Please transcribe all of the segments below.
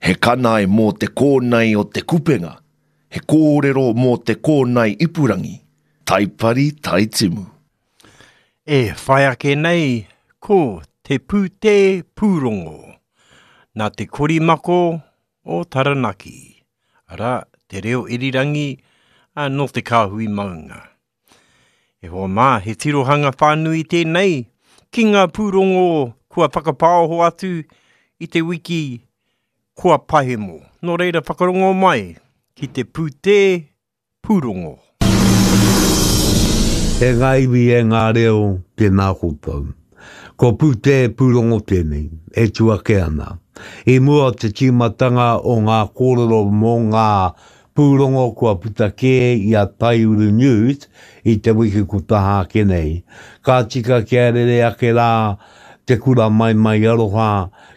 He kanae mō te kōnae o te kupenga, he kōrero mō te kōnae ipurangi, Taipari Taitimu. E whai ake nei ko Te Pūtē Pūrongo, nā Te Korimako o Taranaki, arā, te reo irirangi nō te kāhui maunga. E hoa mā, he tirohanga whānui tēnei ki ngā pūrongo kua whakapāoho atu i te wiki kua pahemo. Nō reira whakarongo mai ki te pūtē pūrongo. E ngā iwi, e ngā reo, tēnā koutou. Ko Pūtē Pūrongo tēnei, e tū ake ana. I mua o te tīmatanga o ngā kōrero mō ngā pūrongo kua puta kē i a Taiuru News i te wiki ko taha ake nei, ka tika kia rere ake rā te kura maimai aroha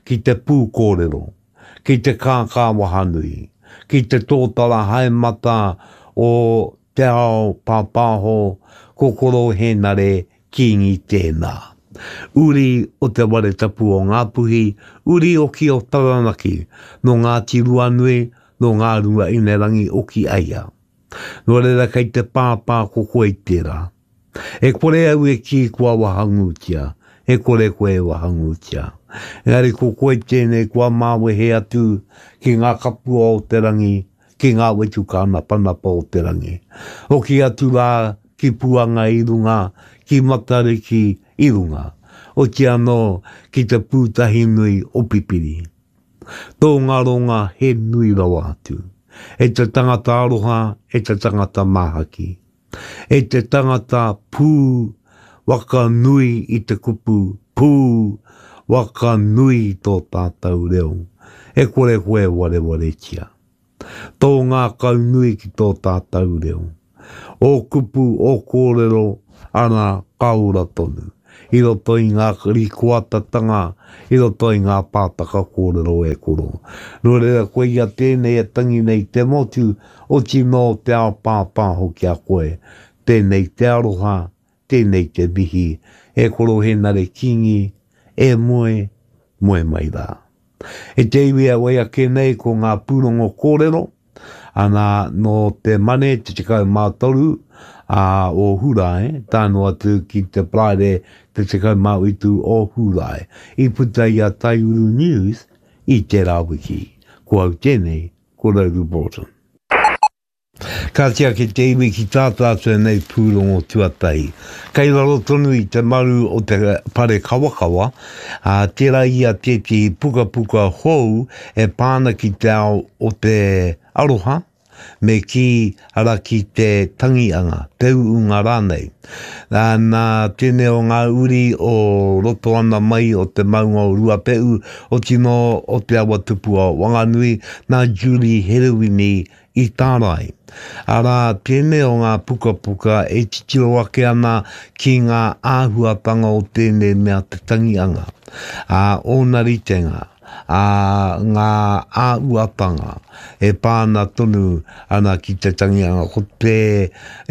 ki te pūkōrero, ki te kākā wahanui, ki te tōtara haemata o te ao pāpāho, ko Koro Hēnare Kīngi tēnā. Uri o Te Ware Tapu o Ngāpuhi, uri oki o Taranaki, nō Ngāti Ruanui, nō Ngāruaīnerangi oki a ia. Nō reira kei te pāpā ko koe tērā. E kore au e kī kua wahangūtia, e kore koe e wahangūtia. Engari ko koe tēnei kua māwehe atu ki ngā kapua o te rangi, ki ngā wetu kānapanapa o te rangi. Hoki atu rā ki Puanga i runga, ki Matariki i runga, oti anō ki te pūtahi nui o Pipiri. Tō ngaronga he nui rawa atu. E te tangata aroha, e te tangata māhaki. E te tangata pū waka nui i te kupu pū waka nui i tō tātou reo. E kore koe e warewaretia. Tō ngākau nui ki tō tātou reo. Ō kupu, ō kōrero, ana, ka ora tonu. I roto i ngā rikoatatanga, i roto i ngā pātaka kōrero e koro. Nō reira, koia tēnei e tangi nei te motu, oti nō te ao pāpāho ki a koe. Tēnei te aroha, tēnei te mihi, e Koro Henare Kingi, e moe, moe mai rā. E te iwi e wai ake nei ko ngā pūrongo kōrero, ana nō te Mane te 13 a o Hurae, tae noa atu ki te Paraire te 17 o Hurae. I puta i a Taiuru News i tērā wiki. Ko au tēnei, ko Rauru Broughton. Ka tiaki te iwi ki tā tātou nei pūrongo tuatahi. Kei raro tonu i te maru o te whare kawakawa, ā, tērā ia tētehi pukapuka hou e pā ana ki te ao o te aroha, me kī, arā ki te tangianga, te uunga rānei. Ā, nā tēnei o ngā uri o roto ana mai o te maunga o Ruape'u, otinō o Te Awa Tupua o Wanganui, nā Julie Herewini i tārai. Arā, tēnei o ngā pukapuka e titiro ake ana ki ngā āhuatanga o tēnei mea te tangianga, ā, ōna ritenga, ā, ngā āuatanga e pā ana tonu ana ki te tangianga. Ko te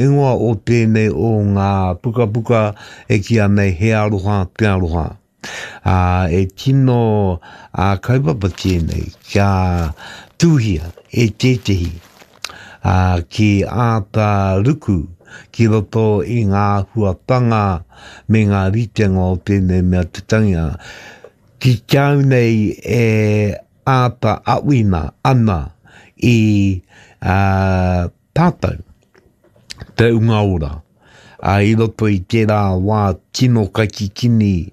ingoa o tēnei o ngā pukapuka e kīia nei He Aroha Te Aroha. Ā, e tino ā-kaupapa tēnei kia tuhia e tētehi, ā, ki āta ruku ki roto i ngā āhuatanga me ngā ritenga o tēnei mea te tangihanga. Ki te au nei e āta awina ana i, ā, tātou, te unga ora. Ā, i roto i tērā wā tino kaikikini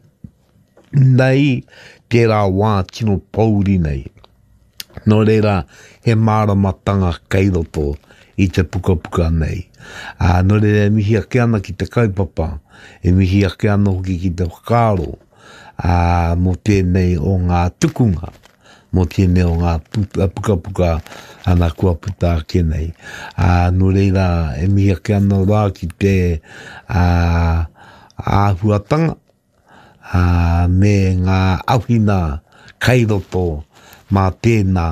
nei, tērā wā tino pōuri nei. Nō reira, he māramatanga kei roto i te pukapuka nei. Ā, nō reira e mihi ake ana ki te kaupapa, e mihi ake ana hoki ki te whakaaro, ā, mō tēnei o ngā tukunga. mō tēnei o ngā pukapuka ana kua puta ake nei. Ā, nō reira, e mihi ake ana rā ki te ā, āhuatanga ā, me ngā awhina kai roto mā tēnā,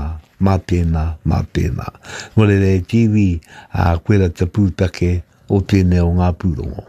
mā tēnā, mā tēnā. Nō reira e te iwi, ā, koira te pūtake o tēnei o ngā pūrongo.